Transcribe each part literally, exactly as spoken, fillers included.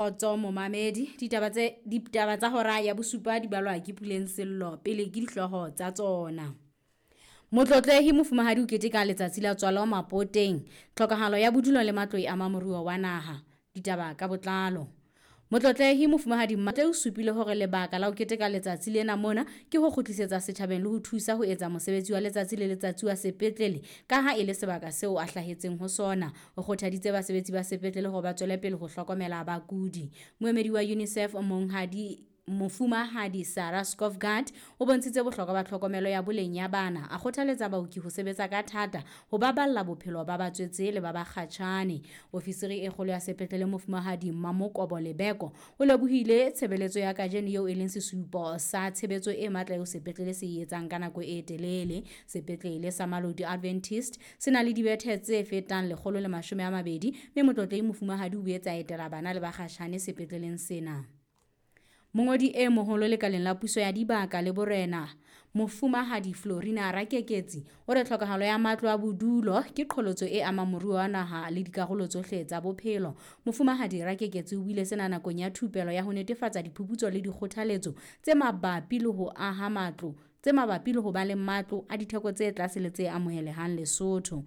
Kgotso momamedi, ditaba tse ditaba tsa hora ya bosupa di balwa ke Puleng Sello pele ke dihlooho tsa tsona. Motlotlehi Mofumahadi o keteka letsatsi la tswalo Mapoteng. Tlhokahalo ya bodulo le matlo e ama moruo wa naha. Ditaba ka botlalo. Motlotlehi Mofumahadi Mmatle o supile hore lebaka la ho keteka letsatsi lena mona ke ho kgutlisetsa setjhabeng le ho thusa ho etsa mosebetsi wa letsatsi le letsatsi wa sepetlele ka ha e le sebaka seo a hlahetseng ho sona. O kgothaditse basebetsi ba sepetlele hore ba tswele pele ho hlokomela bakudi. Moemedi wa UNICEF Monghadi Mofumahadi Sarah Skovgaard o bontshitse bohlokwa ba tlhokomelo ya boleng ya bana, a kgothaletsa baoki ho sebetsa ka thata ho baballa bophelo ba batswetse le ba bakgatjhane. Ofisiri e kgolo ya sepetlele Mofumahadi Mamokobo Lebeko o lebohile tshebeletso ya kajeno eo e leng sesupo sa tshebetso e matla eo sepetlele se e etsang ka nako e telele. Sepetlele sa Malodi Adventist se na le dibethe tse fetang lekgolo le mashome a mabedi mme Motlotlehi Mofumahadi o boetse a etela bana le bakgatjhane sepetleleng sena. Mongodi e moholo lekaleng la puso ya dibaka le borena, Mofumahadi Florina Rakeketsi, o re tlhokahalo ya matlo a bodulo ke qholotso e amang moruo wa naha le dikarolo tsohle tsa bophelo. Mofumahadi Rakeketsi o buile sena nakong ya thupelo ya ho netefatsa diphuputso le dikgothaletso tse mabapi le ho aha matlo, tse mabapi le ho ba le matlo a ditheko tse tlase le tse amohelehang Lesotho.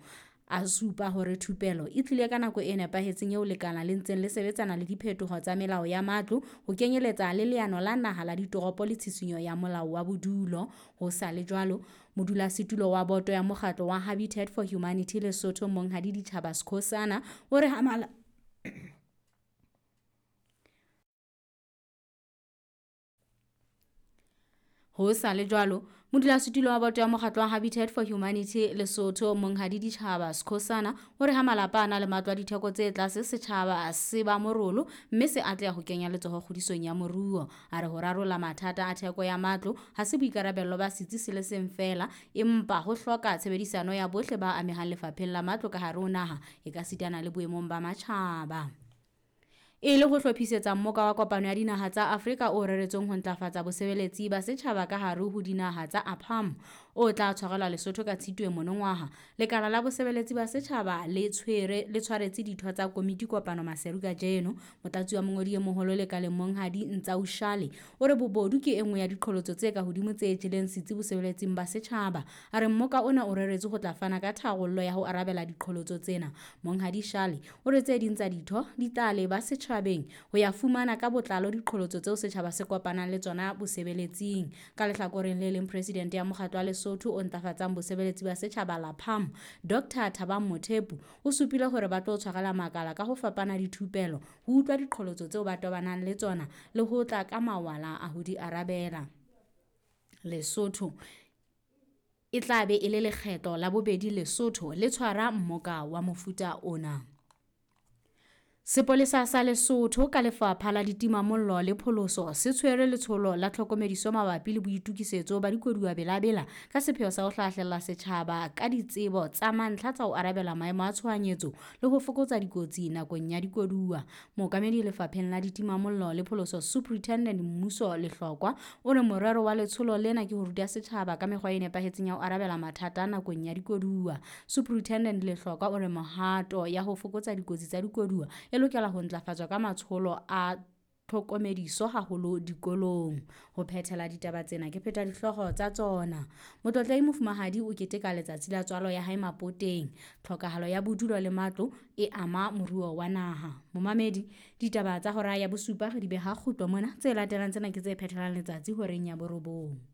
A supa hore thupelo e tlile ka nako e nepahetseng eo lekala le ntseng le sebetsana le diphetoho tsa melao ya matlo, ho kenyeletsa le leano la naha la ditoropo le tshisinyo ya molao wa bodulo. Ho sa le jwalo, modulasetulo wa boto ya mokgatlo wa Habitat for Humanity Lesotho Monghadi Ditjhaba Skhosana o re ha mala Ho sa le jwalo, modulasetulo wa boto ya mokgatlo wa Habitat for Humanity Lesotho Monghadi Ditjhaba Skhosana o re ha malapa a na le matlo a ditheko tse tlase, setjhaba se ba morolo mme se atleha ho kenya letsoho kgodisong ya moruo. A re ho rarolla mathata a theko ya matlo ha se boikarabello ba setsi se le seng feela, empa ho hloka tshebedisano ya bohle ba amehang lefapheng la matlo ka hare ho naha ekasitana le boemong ba matjhaba. E le ho hlophisetsa mmoka wa kopano ya dinaha tsa Afrika o reretsweng ho ntlafatsa bosebeletsi ba setjhaba ka hare ho dinaha tsa APAM o tla tshwarelwa Lesotho ka Tshitwe monongwaha. Lekala la bosebeletsi ba setjhaba le tshwere le tshwaretse ditho tsa komiti kopano Maseru kajeno. Motlatsi wa mongodi e moholo lekaleng Monghadi Ntsau Shale o re bobodu ke e nngwe ya diqholotso tse ka hodimo tse jeleng setsi bosebeletsing ba setjhaba. A re mmoka ona o reretswe ho tla fana ka tharollo ya ho arabela diqholotso tsena. Monghadi Shale o re tse ding tsa ditho di tla leba setjhabeng ho ya fumana ka botlalo diqholotso tseo setjhaba se kopanang le tsona bosebeletsing. Ka lehlakoreng le leng, presidente ya mokgatlo wa Lesotho o ntlafatsang bosebeletsi ba setjhaba LAPAM, Doctor Thabang Mothepu, o supile hore ba tlo tshwarela makala ka ho fapana dithupelo ho utlwa diqholotso tseo ba tobanang le tsona le ho tla ka mawala a ho di arabela. Lesotho e tla be e le lekgetlo la bobedi Lesotho le tshwara mmoka wa mofuta ona. Sepolesa sa Lesotho ka lefapha la ditimamollo le pholoso se tshwere letsholo la tlhokomediso mabapi le boitokisetso ba dikoduwa belabela ka sepheo sa ho hlahlella setjhaba ka ditsebo tsa mantlha tsa ho arabela maemo a tshohanyetso le ho fokotsa dikotsi nakong ya dikoduwa. Mookamedi lefapheng la ditimamollo le pholoso Superintendent Mmuso Lehlokwa o re morero wa letsholo lena ke ho ruta setjhaba ka mekgwa e nepahetseng ya ho arabela mathata nakong ya dikoduwa. Superintendent Lehlokwa o re mehato ya ho fokotsa dikotsi tsa dikoduwa e lokela ho ntlafatswa ka matsholo a tlhokomediso haholo dikolong. Ho phethela ditaba tsena ke pheta dihlooho tsa tsona. Motlotlehi Mofumahadi o keteka letsatsi la tswalo ya hae Mapoteng. Tlhokahalo ya bodulo le matlo e ama moruo wa naha. Momamedi, ditaba tsa hora ya bosupa re di beha kgutlo mona. Tse latelang tsena ke tse phethelang letsatsi horeng ya borobong.